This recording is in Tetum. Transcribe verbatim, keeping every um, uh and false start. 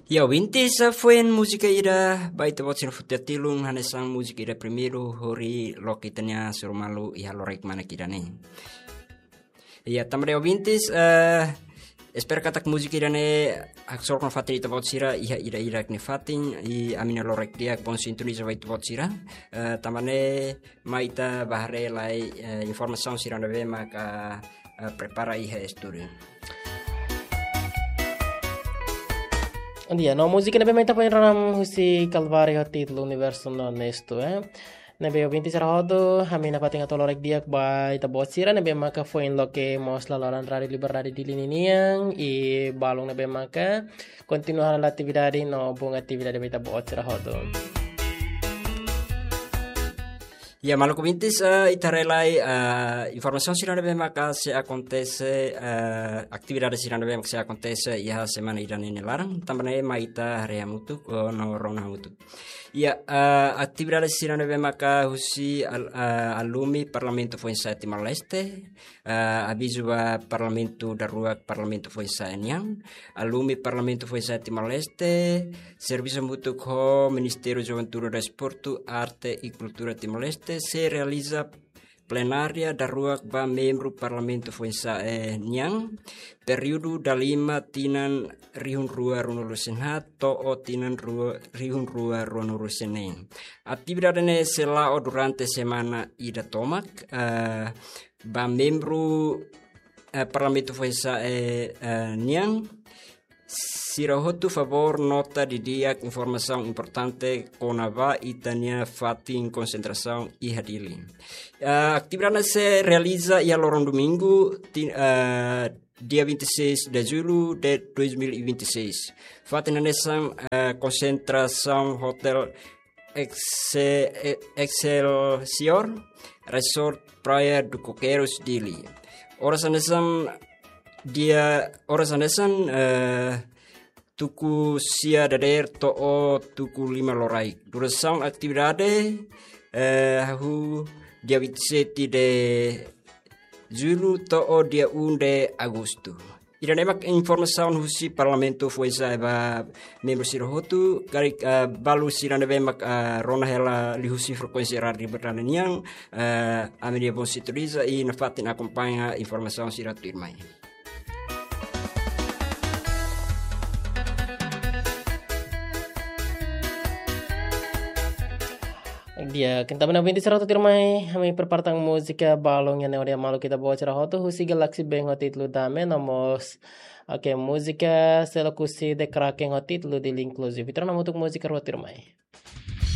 Ya, ouvintes, foin múzika ida ba ita-boot sira foti hatilun, hanesan múzika ida primeiru hodi loke ita-nia suru malu iha loraik manak ida-ne'e. Ya, tanba ne'e ouvintes, eh, espera katak múzika ida-ne'e haksolok nafatin ita-boot sira iha ida-idak nia fatin, i ami-nia loraik di'ak bom sintoniza ba ita-boot sira. Eh, tanba ne'e mai ita bá haree lai, eh, informasaun sira ne'ebé maka, eh, prepara iha estúdiu. Di'ak, no múzika ne'ebé mai ita foin rona husi Kalváriu ho títulu Universo Honesto, eh. Ne'ebé ouvintes sira hotu, ami nafatin hato'o loraik di'ak ba ita-boot sira ne'ebé maka foin loke mós laloran Rádiu Liberdade Dili ninian, i balun ne'ebé maka kontinua halo atividade no bom atividade ba ita-boot sira hotu. Ya, maluk ouvintes, eh, ita haree lai, eh, informasaun sira ne'ebé maka sei akontese, eh, atividade sira ne'ebé maka sei akontese iha semana ida-ne'e nia laran, tanba ne'e mai ita haree hamutuk, oh, no rona hamutuk. Ya, eh, atividade sira ne'ebé maka husi al-, eh, alumi Parlamentu Foinsa'e Timor-Leste, eh, avizu ba Parlamentu daruak Parlamentu Foinsa'e nian, alumi Parlamentu Foinsa'e Timor-Leste, servisu hamutuk ho Ministériu Juventude, Desportu, Arte i Kultura Timor-Leste, sei realiza plenária daruak ba membru Parlamentu Foinsa'e nian, períodu dala lima tinan rihun rua ruanulu-resin-haat to'o tinan rua, rihun rua ruanulu-resin-neen. Atividade ne'e sei la'o durante semana ida tomak, eh, ba membru, eh, Parlamentu Foinsa'e, eh, nian, sira hotu favór nota didi'ak informasaun importante kona-ba ita-nia fatin konsentrasaun iha Dili. Eh, atividade sei realiza iha loron domingu, ti-, eh, dia vinte e seis de julho de dois mil e vinte e seis. Fatin hanesan, eh, konsentrasaun hotel Exe-, e-, Excelsior Resort Praia do Coqueiros, Dili. Oras hanesan dia, oras hanesan, eh, tuku sia dadeer to'o tuku lima loraik. Durasaun atividade, eh, hahú dia vinte e sete de julho to'o dia um de agosto. Ida-ne'e mak informasaun husi Parlamentu Foinsa'e ba membru sira hotu, karik, eh, balu sira ne'ebé mak, eh, rona hela liuhusi frekuénsia rádiu Liberdade nian, eh, ami-nia bom sintoniza i nafatin akompaña informasaun sira tuirmai. Di'ak, entaun ouvintes sira hotu tuirmai, ami prepara tan múzika balun ida-ne'e hodi hamaluk ita-boot sira hotu, husi Galaxy Band ho títulu Dame, no mós, oke, múzika Selo Kusi The Kraken ho títulu Dili Inclusive. Ita rona hamutuk múzika rua tuirmai.